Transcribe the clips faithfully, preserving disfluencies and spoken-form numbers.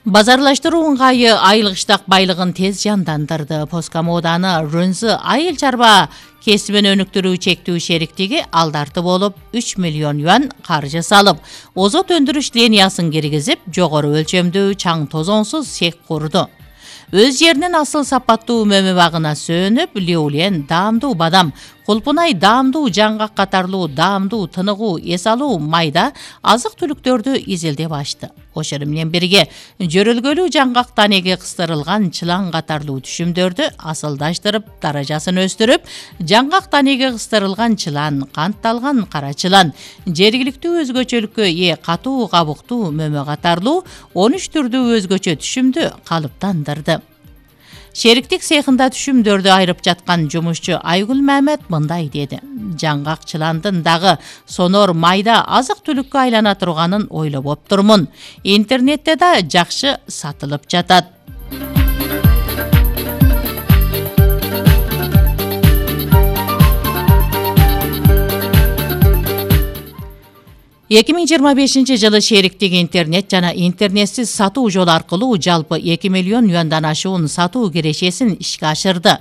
Базарлаштыруу ыңгайы айыл кыштак байлыгын тез жандандырды. Поскомоданы Рөнзы айыл чарба кесибин өнүктүрүү чектүү шериктиги алдарты болуп үч миллион юан каржы салып, озот өндүрүш линиясын киргизип, жогору өлчөмдүү чаң тозоңсуз цех курду. Өз жеринин асыл сапаттуу мөмө багына сөнүп, Леулен даамдуу бадам, Кулпунай даамдуу жаңгак катарлуу даамдуу тыныгуу эс алуу майда азык түлүктөрдү изилдеп ачты. Ошол менен бирге жөрөлгөлүү жаңгак танеги кыстырылган чылан катарлуу түшүмдөрдү асылдаштырып, даражасын өстүрүп, жаңгак танеги кыстырылган чылан, кантталган кара чылан, жергиликтүү өзгөчөлүккө ээ катуу кабуктуу мөмө катарлуу он үч түрдүү өзгөчө түшүмдү калыптандырды. Шериктик цехында түшүмдөрдү айрып жаткан жумушчу Айгүл Мамет мындай деди: жаңгак чыландын дагы сонор майда азык түлүккө айлана турганын ойлоп оптурмун. Интернетте да жакшы сатылып жатат. эки миң жыйырма бешинчи жылы шериктик интернет жана интернетсиз сатуу жолу аркылуу жалпы эки миллион юандан ашуун сатуу кирешесин ишке ашырды.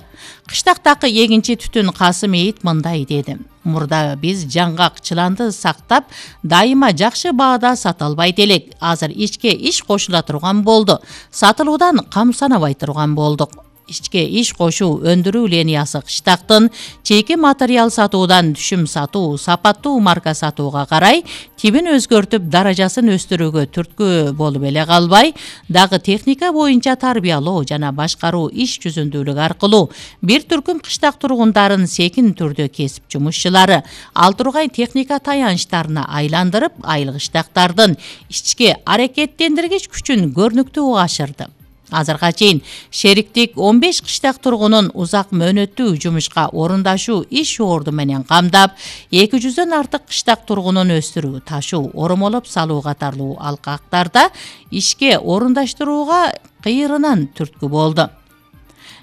Кыштактагы эгинчи түтүн Касым Эйит мындай деди: мурда биз жаңгак чыланды сактап, дайыма жакшы баада сата албайт элек. Азыр ичке иш кошула турган болду. Сатылуудан кам санабай турган болдук. Ичке иш кошуу өндүрүү линиясы кыштактын чейки материал сатуудан түшүм сатуу, сапаттуу марка сатууга карай тибин өзгөртүп, даражасын өстүрүүгө түрткү болуп эле калбай, дагы техника боюнча тарбиялоо жана башкаруу иш жүзүндүүлүк аркылуу бир түркүм кыштак тургундарын секин түрдө кесип жумушчулары ал тургай техника таянычтарына айландырып, айыл кыштактардын ички аракеттендиргич күчүн көрүнүктүү ашырды. Азырга чейин шериктик он беш кыштак тургунун узак мөөнөттүү жумушка орундашуу иш орду менен камдап, эки жүздөн артык кыштак тургунун өстүрүү, ташуу, оромолоп салуу катарлуу алкактарда ишке орундаштырууга кыйырынан түрткү болду.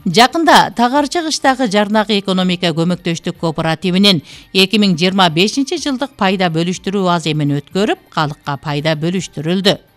Жакында Тагарчы кыштагы Жарнак экономика көмөктөштүк кооперативинин эки миң жыйырма бешинчи жылдык пайда бөлүштүрүү аз эмин өткөрүп, калыкка пайда бөлүштүрүлдү.